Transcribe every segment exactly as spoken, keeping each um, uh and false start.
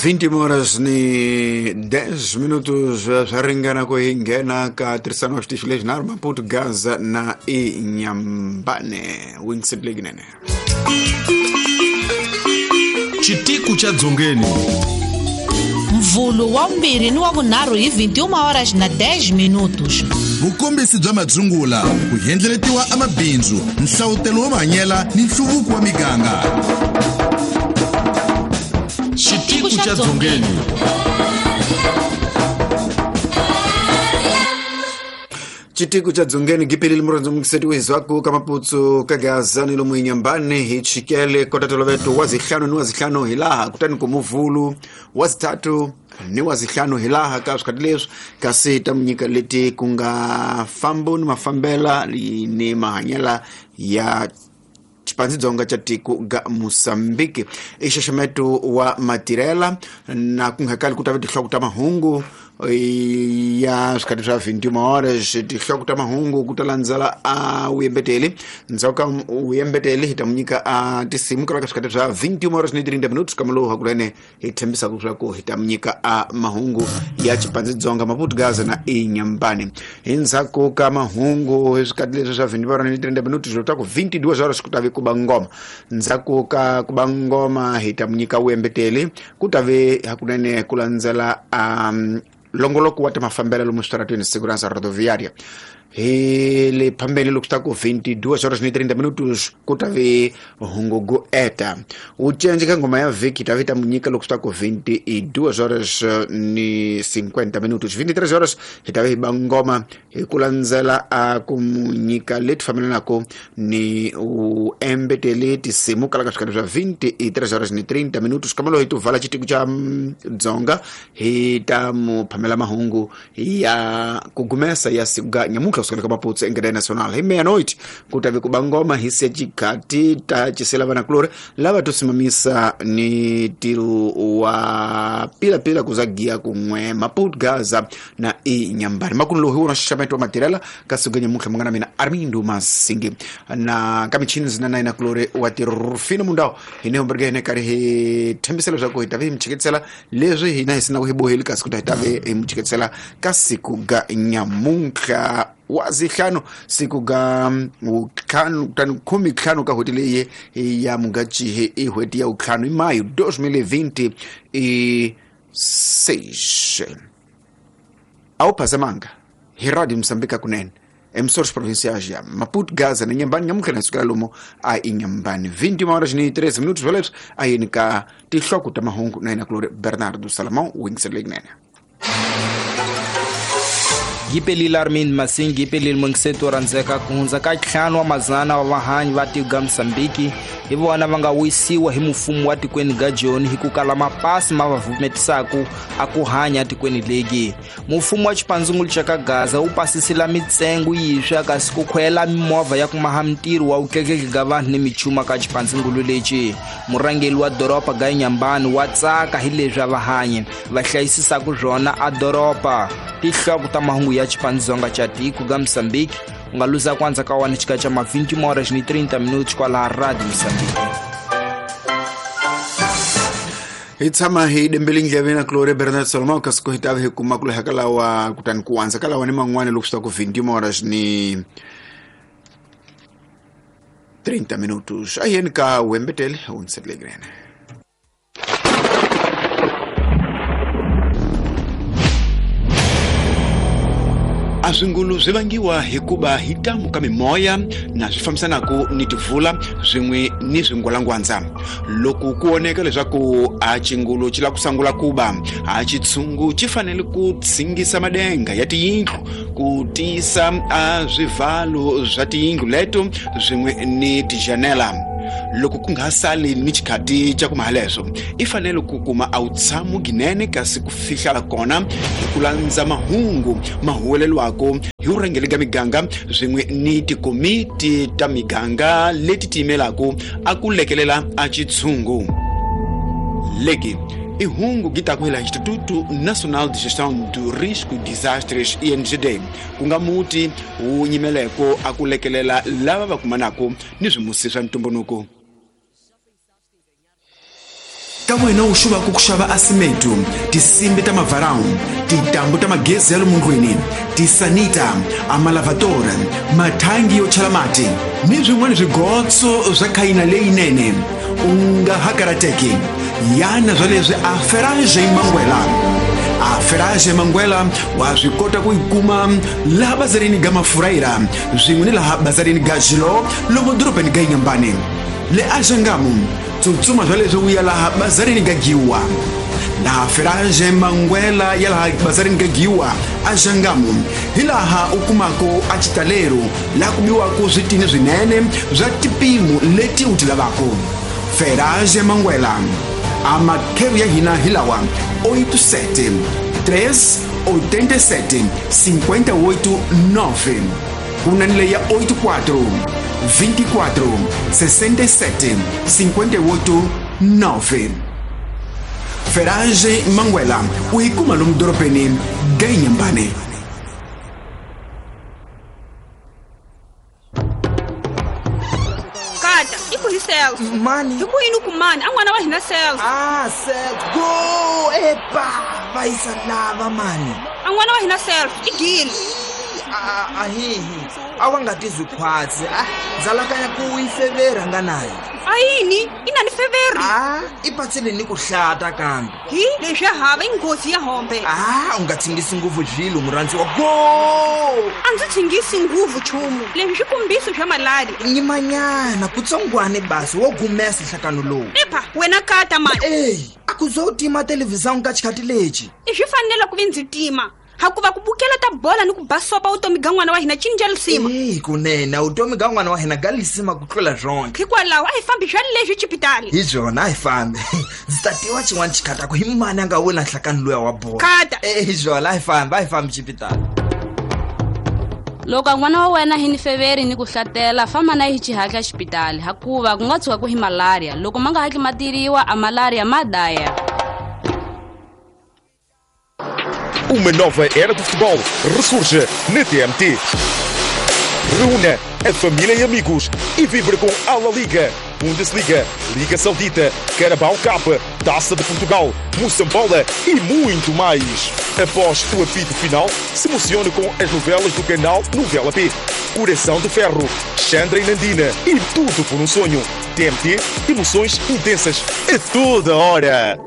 vinte horas ni dez minutos swa ringana ku hi nghena ka tirhisano wa xitichi lexi nharhu Maputo, Gaza na Inhambane. Wingset lekinene. Xitiku xa Dzongeni. Mvulu wa vumbirhi ni wa vunharhu hi vinte e uma horas na dez minutos. Vukombisi bya madzungula, ku endleletiwa amabindzu, nhlawutelo wa mahanyela ni nhluvuko wa miganga. Xitiku xa Dzongeni. Xitiku xa Dzongeni gipelile murhandzo mukiseti wezwaku ka Maputo ka Gaza ni lomu Inhambane hi chikele kota toloveto wa zihlanu ni wa zihlanu hilaha kutani ku muvulu wa zitatu ni wa zihlanu hilaha ka swikhati leswi kasi ta munyika leti ku nga fambo ni mafambela ni mahanyela ya Xipandzidzonga xa tiko ga Mozambique. I xaxameto wa matirhela na ku nga kali ku ta va tinhloko ta mahungu ya swikhati swa vinte e uma horas. Tinhloko ta mahungu ku ta landzela a vuyembeteli. Ndzhaku ka vuyembeteli hi ta mu nyika a tinsimu ka swikhati swa vinte e uma horas ni trinta minutos kamalowu hakunene hi tshembisaka leswaku hi ta mu nyika a mahungu ya Xipandzidzonga, Maputo, Gaza na Inhambane. Hi ndzhaku ka mahungu hi swikhati leswi swa vinte e uma horas ni trinta minutos loko ta ku vinte e duas horas ku ta ve ku ba ngoma. Ndzhaku ka ku ba ngoma hi ta mu nyika vuyembeteli ku ta ve hakunene ku landzela a longoloko wa ta mafambelo lomu switarateni segurança rodoviária. Hi le phambeni loko swi ta ku vinte e duas horas ni trinta minutos ku ta ve hungu go eta. U cence ka ngoma ya vhiki ta ve ta mu nyika loko swi ta ku vinte e duas horas ni cinquenta minutos. vinte e três horas hi ta ve hi ba ngoma hi ku landzela a ku mu nyika leti fambelanaka ni u embeteli tinsimu kala ka swikhati swa vinte e três horas ni trinta minutos. Kamalo hi tuvala xitiku xa Dzonga hi ta mu phamela mahungu ya ku gumesa ya siku ga nyamutlha kusukela ka Maputo engeda nacional. Hi meia-noite ku ta ve ku ba ngoma hi siya xikhati ta cisela vanakulori lava to simamisa ni ntirho wa pilapila ku za giya kun'we Maputo, Gaza na Inhambane. Makumu lowu hi wona xaxameto wa matirhela ka siku ga nyamutlha. Munghana mina Armindo Masingi na ka michini na na inakulori wa Tirufino Mundau hi ne homberge hi ne karhi hi tshembisa leswaku hi ta ve hi mi chiketisela leswi hina hi sinaku hi boheli kasi ku ta hi ta ve hi mi chiketisela ka siku ga nyamuntlha wa zihlanu siku ga ntlhanu kutani khume ntlhanu ka n'hweti leyi ya Mudyaxihi i n'hweti ya ntlhanu hi mayo dois mil e vinte e seis. A wu phazamanga hi Radio Moçambique kunene emissores provinciais ya Maputo, Gaza na Inhambane. Nyamuntlha na sukela lomu a Inhambane vinte e uma horas ni treze minutos swoleswo a yini ka tinhloko ta mahungu na yena kulori Bernardo Salomão Wingset lekinene. Gipelile Armindo Masingi gipelile mungiseto rhandzeka ku hundza ka ntlhanu wa madzana wa vahanyi va tiko ga Mozambique hi vona va nga wisiwa hi mfumo wa tikweni ga Joni hi ku kala mapasi ma va vumetisaku a ku hanya tikweni legi. Mfumo wa xipandzungulu xa ka Gaza wu pasisila mitsengo yiswa kasi ku khwela mimovha ya ku maha mintirho wa vutleketli ga vanhu ni michuma ka xipandzungulu lexi. Murhangeri wa doroba ga Inhambane wa tsaka hi leswi a vahanyi va hlayisisaku swona a doroba. Tinhloko ta mahungu ya Xipandzonga xa tiko ga Mozambique u nga luza kwanza ka wani xika xa ma vinte e uma horas ni trinta minutos kwalaha Radio Mozambique. Hi tshama hi dembele ndleve na Gloria Bernard Salomão kasi ku hi ta ve hi kuma ku leha ka lawa kutani ku andza ka lawa ni man'wani loko swi ta ku vinte e uma horas ni trinta minutos. A yeni ka wembetele hundziserile. A swingulu swi vangiwa hikuva hi tamu ka mimoya na swi fambisanaka ni tivula swin'we ni swingwalangwandza. Loko ku voneka leswaku a xingulu xi lava ku sungula ku ba, a xitshungu xi fanele ku tshingisa madenga ya tiyindlu ku tiyisa a swivalo swa tiyindlu leto swin'we ni tijanela. Loko ku nga sali ni xikhati xa ku mahaleswo i fanele ku kuma a wutshamo ginene kasi ku fihla kona hi ku landza mahungu ma huwelelwako hi vurhangeri ka miganga swin'we ni tikomiti ta miganga leti tiyimelaka a ku lekelela a xitshungu. Leki i hungu gitaku hila Instituto Nacional de Gestão do Risco de Desastres I N G D ku nga muti wu nyimeleko a ku lekelela lava va kumanaka ni swimusi swa ntumbuluko. Ka wena u xuvaka ku xava asimetu, tinsimbi ta mavarão, tintambu ta magezi ya le mundlwini, tisanita, amalavadora, mathangi yo chela mati ni swin'wana swigotso swa khayina leyinene, u nga ha karateki. Yana swa leswi a Ferrage Mangwela. A Ferrage Mangwela wa swi kota ku yi kuma laha bazarini ga Mafuraira swin'we ni laha bazarini ga Jilo lomu dorobeni ga Inhambane. Le Axangamu tsutsuma swa leswi u ya laha bazarini ga Giwa. Laha Ferrage Mangwela ya laha bazarini ga Giwa Axangamu hi laha u kumako a xitalero laha ku biwako switini swinene swa tipimo leti u ti lavako. Ferrage Mangwela a makheru ya hina hi lawa oito sete três oitenta e sete cinquenta e oito nove kuna ni leya oito quatro vinte e quatro sessenta e sete cinquenta e oito nove. Ferrage Mangwela u yi kuma lomu dorobeni ga Inhambane. Kata, i ku hi Celso. Mani. Hi ku yini ku mani? A n'wana wa hina Celso. Ah, Celso. Go! Epa! Va yisa lava mani. A n'wana wa hina Celso i gile. A hihi. A wa nga tizwi khwatsi. Ah, ndzalakanya ku yi fevera nga nayo. A yini? I na ni feveri? Ah, i patsile ni ku hlata kambe. Hi, leswi hava i nghozi ya hombe. Ah, u nga tshingisi nguvu zvilo murhandziwa. Go! A ndzi tshingisi nguvu chumu. Leswi swi kombiso swa malaria. Nyimanyana kutsongwane basi wo gumesa nhlakano lowu. Epa, wena kata mani. Ey, a ku zo tima televhizão ka xikhati lexi. I swi fanele ku vi ndzi tima. Hakuva ku bukela ta bola ni ku basopa vutomi ga n'wana wa hina cinca lisima. Ey, kunene vutomi ga n'wana wa hina ga lisima ku tlula swonke. Hikwalaho a hi fambi swa leswi xipitali. Hi byona a hi fambi. Ndzi ta tiva xin'wana xikhata ku hi mani a nga wina nhlakano luya wa bola. Kata. Ey, hi byona a hi fambi, a hi fambi xipitali. Loko n'wana wa wena hi ni feveri ni ku hlatela, famba na hi xihatla xipitali hakuva ku nga tshuka ku hi malaria. Loko ma nga hatli ma tiriwa, a malaria ma daya. Uma nova era do futebol ressurge na T M T. Reúna a família e amigos e vibre com a La Liga, Bundesliga, Liga Saudita, Carabao Cup, Taça de Portugal, Moçambola e muito mais. Após o apito final, se emocione com as novelas do canal Novela P, Coração de Ferro, Chandra e Nandina e Tudo por um Sonho. T M T, emoções intensas a toda hora.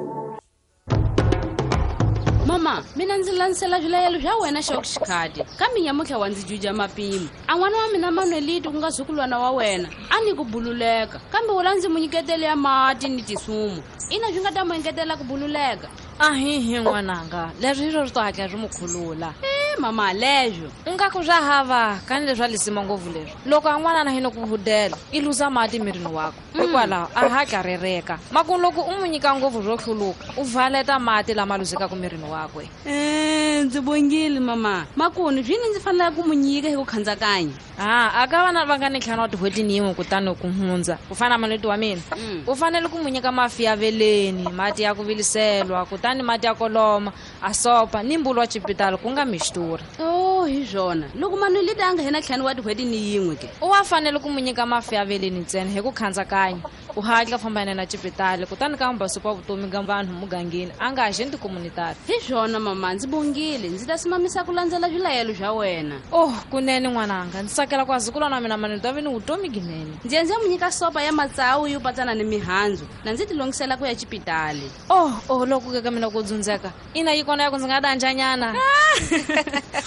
Mama, mina ndzi landzela swilayelo swa wena xa xikhati kambe nyamutlha wa ndzi juja mapimo. A n'wana wa mina Manuelito ku nga zukulwana wa wena a ni ku bululeka kambe wula ndzi mu nyiketele ya mati ni tisumu ina swi nga ta mu engetela ku bululeka. Ahihi n'wananga, leswi hi swo swi to hatla swi mu khulula. E mama, leswo u nga ku swa hava kani leswi a lisima ngopfu leswi. Loko a n'wana na hina ku hudela i luza mati mirini wakwe, hikwalaho a hatla rereka. Maku loko u mu nyika ngopfu swo hluluka u valeta mati lama luzekaka mirini wakwe. E ndzi bongile mama, makunu swini ndzi faneleke ku mu nyika hi ku khandzakanya. Ah, a ka vana va nga ni ntlhanu wa tin'hweti ni yin'we kutani ku hundza ku fana na Manuelito wa mina, u fanele ku mu nyika mafi ya veleni, mati ya ku viliselwa, kutani mati ya koloma, a sopa ni mbulu wa xipitali ku nga mixtura. Oh, hi swona. Loko Manuelito a nga hina ntlhanu wa tin'hweti ni yin'we ke, u wa fanele ku mu nyika mafi ya veleni ntsena hi ku khandzakanya. U hatla famba yena na xipitali kutani ka mbasopa vutomi ga vanhu mugangeni a nga agenti communitary. Hi swona mama, ndzi bongile, ndzi ta simamisa ku landzela swilayelo swa wena. Oh, kunene n'wananga, ndzi tsakela ku azukulwana wa mina Manuelito a ve ni vutomi ginene. Ndzi endze mu nyika sopa ya matsawu yo patsana ni mihandzu na ndzi tilongisela ku ya xipitali. Oh, oh, loko ke ka mina ku dzundzeka ina yi kona ya ku ndzi nga danjanyana.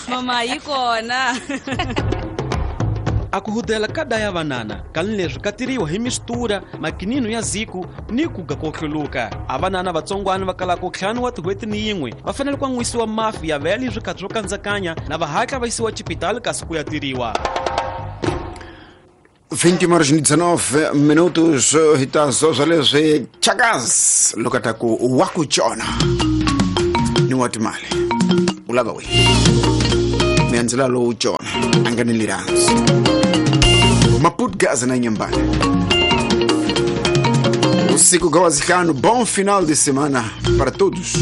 Mama, yi kona. A ku hudela ka daya vanana kani leswi ka tiriwa hi mistura makinino ya ziku ni ku ga ko hluluka. A vanana vatsongwana va kalaka ntlhanu wa tin'hweti ni yin'we va fanele ku an'wisiwa mafi ya vele swikhathi swo kandzakanya na va hatla va yisiwa xipitali kasi ku ya tiriwa. vinte horas e dezenove minutos hitazo swa leswi Chakas loko ta ku wa ku tshona ni wa timali u lava we miandzela lowu tshona a nga ni lirhandzo Maputo Gaza na Inhambane. Usiku ga wazihlanu, bom final de semana para todos.